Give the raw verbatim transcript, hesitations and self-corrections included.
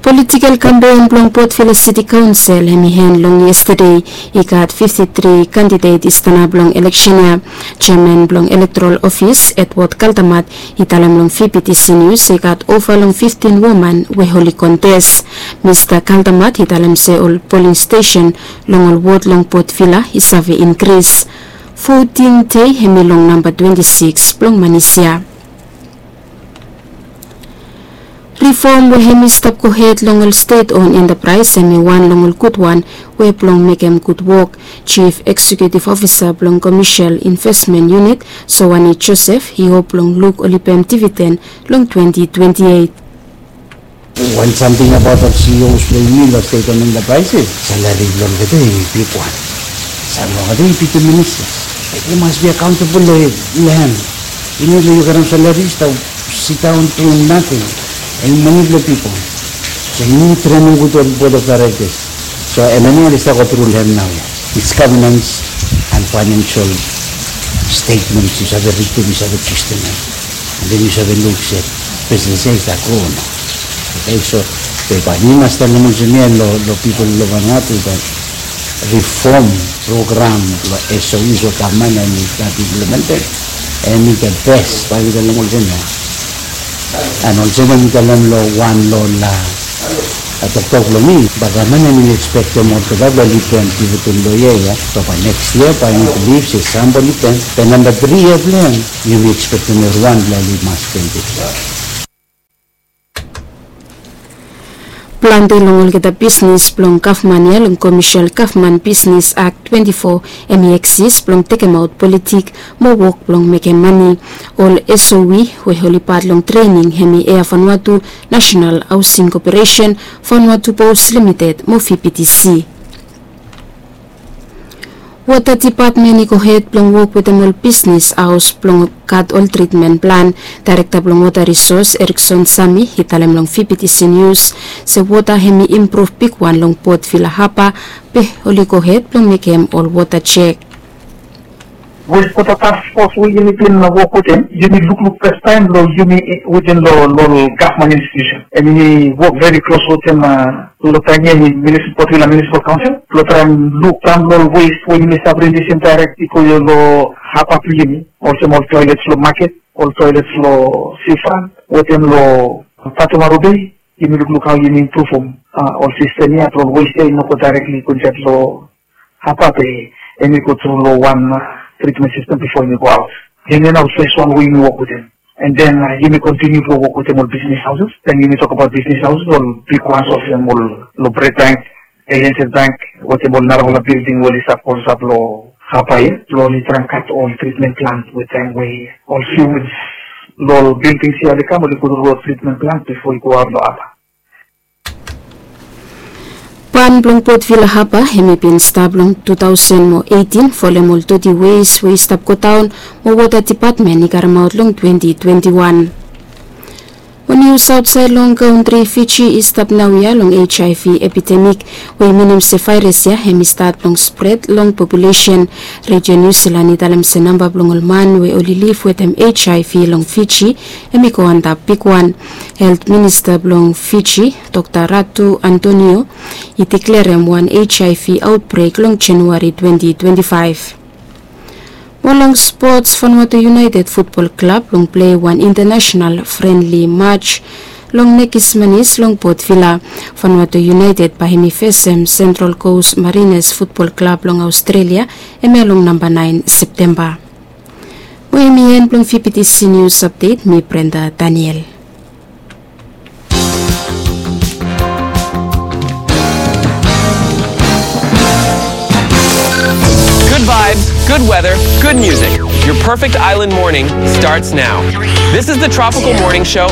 Politikel kampen blong Port Vila City Council hem i en long yestade. I gat fifti tri kandidet i stanap long eleksen ya. Jeaman blong elektoral ofis Edward Kaldamat i talem long V P T C News se i gat ova long fiftin woman we oli kontes. Mista Kaldamat i talem se ol poling stesen long ol wod long Port Vila i save inkris. Voting dei hem i long namba twenti sikis blong manis ya. Rifom we hem i stap gohed long ol stet on entapraes hem i wan long ol gudwan we blong mekem gud wok. Jif Eksekiutif Ofisa blong Komesel Invesmen Yunit, Sowani Josef, i hop blong luk oli pem dividen long twenti twenti eit. Wan samting abaot ol C E Os blong yumi long stet on entapraes, salari blong olgeta i bigwan. Sam long olgeta i bigwan minista. Yu mas bi akaontabol long hem. Yu no yu karem salari stap sidaon dum nating. Hem i mane blong pipol. So yu nid trenem gud ol bord of directors. So em ya nao oli stap go tru long hem nao ya. It's governance and financial statements yu save ridim, yu save testem hem. And then yu save luk se business ya i stap gro o no. Okay, so bae mi mas talem olsem ya long pipol long Vanuatu, that reform program long S O Es we gavman hem i gat implemented, hem i the best, bae mi talem olsem ya. And olsem ya mi talem long wan long toktok blong mi, bae gavman hem i ekspektem olgeta blong oli pem dividen long yia ya. So bae neks yia bae mi bilif se sam blong oli pem. Be namba tri yia blong hem yumi ekspektem evriwan blong oli mas pem dividen. Plante long olgeta bisnes blong gavman ya long Komesel Gavman Bisnes Ak twenti fo hem i eksis blong tekemaot politik mo wok blong mekem mane. Ol S O E we oli pat long trening hem i Air Vanuatu, National Housing Corporation, Vanuatu Post Limited mo V P T C. Wota dipatmen i gohed blong wok wetem ol bisnes haos blong gat ol tritmen plan. Daerekta blong Wota Risos, Erikson Sami, i talem long V P T C Nius se wota hem i impruv bigwan long Port Vila Haba, be oli gohed blong mekem ol wota jek. Westwota task fos we yumi bin wok wetem, yumi lukluk fastaem long yumi wetem long ol gavman institusen. Hem yumi wok veri klos wetem, a, long taem ya hem i Port Vila Munisipal Kaonsel blong traem luk daon long ol wes we yumi save rilisim daerek i go long haba blong yumi, olsem ol toelets long maket, ol toelets long sifrant, wetem long Batumaru Bei. Yumi lukluk hao yumi impruvum, a, ol sistem ya blong ol wes ya i no go daerekli go insaed long haba, be hem i go tru long wan, a, tritmen sistem bifo hem i go aot. Hemia nao fes wan we yumi wok wetem. And then, a, yumi kontiniu blong wok wetem ol bisnes haoses. Taem yumi tokbaot bisnes haoses, ol bigwan olsem ol, long Bred Bank, A N Z Bank, wetem ol narafala bilding we oli stap klosap long haba ya, blong oli traem gat ol tritmen plant we taem we ol fiuels long ol bildings ya oli kam, oli go tru long tritmen plant bifo i go aot long haba. Ban blong Port Vila Haba hem i bin stap long tu taosen mo eitin folem ol doti wes we i stap godaon mo wota dipatmen i karemaot long twenti twenti wan. Mo nius aotsaed long kantri, Fiji i stap naoia long H I V epidemik, we i minim se vaeras ya hem i stat blong spred long populesen. Redio Niu Silan i talem se namba blong ol man we oli liv wetem H I V long Fiji hem i go antap bigwan. Helt minista blong Fiji, Dokta Ratu Antonio, i deklerem wan H I V aotbrek long Januari twenti twenti faef. Mo long spots, Vanuatu United Futbol Klab blong plei wan intanasenal frenli maj long nekis manis long Port Vila. Vanuatu United bae hem i fesem Sentral Kos Marines Futbol Klab long Aostrelia, hemia long namba naen Septemba. Mo hemi en blong V P T C Nius Apdet. Mi Brenda Daniel. Good vibes, good weather, good music. Your perfect island morning starts now. This is the Tropical Morning Show.